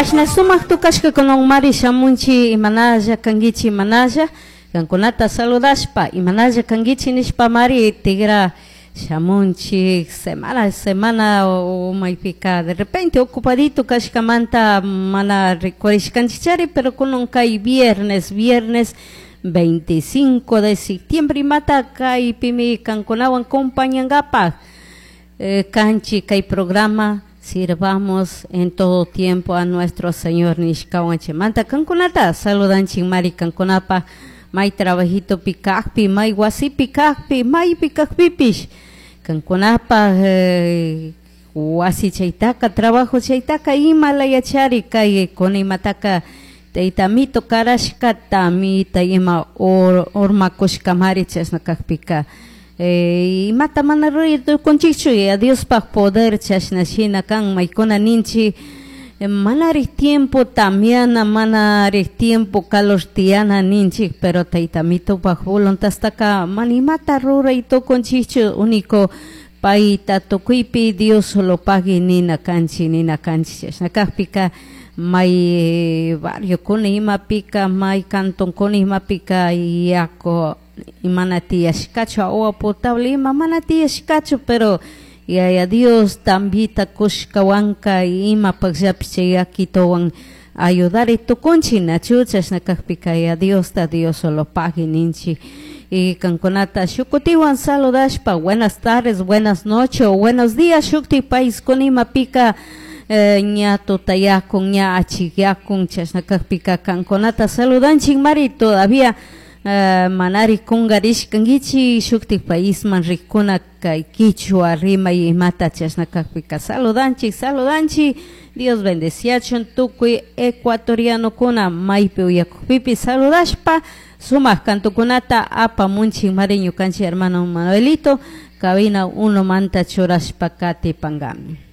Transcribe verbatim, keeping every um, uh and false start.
Kashna sumak tukashkakunawanmari shamunchi imanalla kankichi imanalla kankunata saludashpa imanalla kankichi nishpamari tigra shamunchik semana semana maypika de repente ocupadito kashkamanta mana rikurishkanchikchari, pero kunan kay viernes viernes veinticinco de septiembre imata kaypimi kankunawan compañankapak eh, kanchi kay programa "Sirvamos en todo tiempo a nuestro Señor" nishkawan chaymanta kankunata saludanchik mari kankunapa may trabajitopi kakpi, may wasipi kakpi, maypi kakpipish kankunapaj eh, wasi chaytaka, trabajo chaytaka ima layachari kay kuna imataka tayta Amito karashka tamita ima or, urmakushkamari chashna kakpika eh, imata mana ruray tukunchikchu ya Diospaj poder chashna shina kan maykuna ninchik manari tiempo tamiana, manari tiempo calor tiyana ninchik, pero tayta Amitopaj voluntadtaka mana imata ruray tukunchikchu, único payta tukuypi Dios solo pagui nina kanchik nina kanchik chashna kakpika may barriokuna imapika, may cantonkuna imapika yaku mana tiyashkachu, agua potable ima mana tiyashkachu, pero Yaya Dios tambita kushkawanka imapakllapish chay yakituwan ayudari tukunchik nachu chashna kakpika Yaya Diosta Dios solo pagui ninchik y kankunata shukutiwan saludashpa buenas tardes, buenas noches o buenos días shukti paiskuna imapika eh, ña tutayakun ña achikyakun chashna kakpika kankunata saludanchik mari todavía uh, manari kungarishkankichik shuktik paisman rikuna kay kichwa rimay imata chashna kakpika saludanchik saludanchik. Dios bendeciachun tukuy ecuatorianokuna maypi uyakukpipi saludashpa sumak kantukunata apamunchik mari ñukanchik hermano Manuelito cabina uno manta churashpa katipankami.